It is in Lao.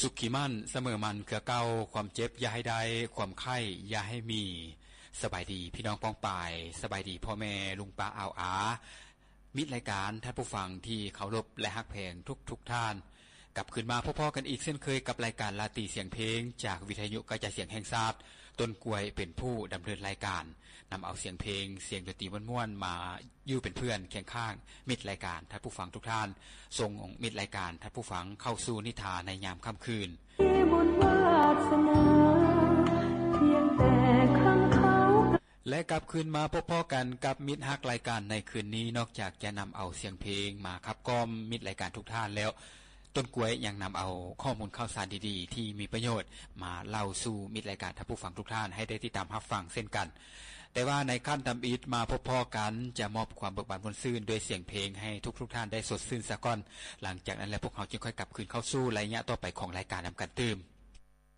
ສຸກຂີ້ໝັ້ນສະເໝີໝັ້ນເຄືອເກົ່າ, ຄວາມເຈັບຢ່າໃຫ້ໄດ້, ຄວາມໄຂ້ຢ່າໃຫ້ມີ. ສະບາຍດີພີ່ນ້ອງປ້ອງປາຍ, ສະບາຍດີພໍ່ແມ່ລຸງປ້າອາວອາ, ມິດລາຍການ, ທ່ານຜູ້ຟັງທີ່ເຄົາລົບ ແລະ ຮັກແພງທຸກໆທ່ານ. ກັບຄືນມາພົບພໍ້ກັນອີກເຊັ່ນເຄີຍກັບລາຍການລາຕີສຽງເພງ ຈາກວິທະຍຸກະຈາຍສຽງແຫ່ງຊາດ, ຕົ້ນກ້ວຍເປັນຜູ້ດຳເນີນລາຍການ, ນຳເອົາສຽງເພງ, ສຽງດົນຕີມ່ວນໆ ມາຢູ່ເປັນເພື່ອນຄຽງຂ້າງມິດລາຍການ, ທ່ານຜູ້ຟັງທຸກທ່ານ. ສົ່ງມິດລາຍການ, ທ່ານຜູ້ຟັງເຂົ້າສູ່ນິທາໃນຍາມຄ່ຳຄືນ. ແລະ ກັບຄືນມາພົບພໍ້ກັນກັບມິດຮັກລາຍການໃນຄືນນີ້, ນອກຈາກຈະນຳເອົາສຽງເພງມາຂັບກ່ອມມິດລາຍການທຸກທ່ານແລ້ວ, ຕົ້ນກ້ວຍຍັງນຳເອົາຂໍ້ມູນຂ່າວສານດີໆທີ່ມີປະໂຫຍດມາເລົ່າສູ່ມິດລາຍການ, ທ່ານຜູ້ຟັງທຸກທ່ານໃຫ້ໄດ້ຕິດຕາມຮັບຟັງເຊັ່ນກັນ. ແຕ່ວ່າໃນຂັ້ນທຳອິດມາພົບພໍ້ກັນ, ຈະມອບຄວາມເບີກບານມ່ວນຊື່ນດ້ວຍສຽງເພງໃຫ້ທຸກໆທ່ານໄດ້ສົດຊື່ນສາກ່ອນ. ຫຼັງຈາກນັ້ນແລ້ວ, ພວກເຮົາຈຶ່ງຄ່ອຍກັບຄືນເຂົ້າສູ່ໄລຍະຕໍ່ໄປຂອງລາຍການນຳກັນຕື່ມ.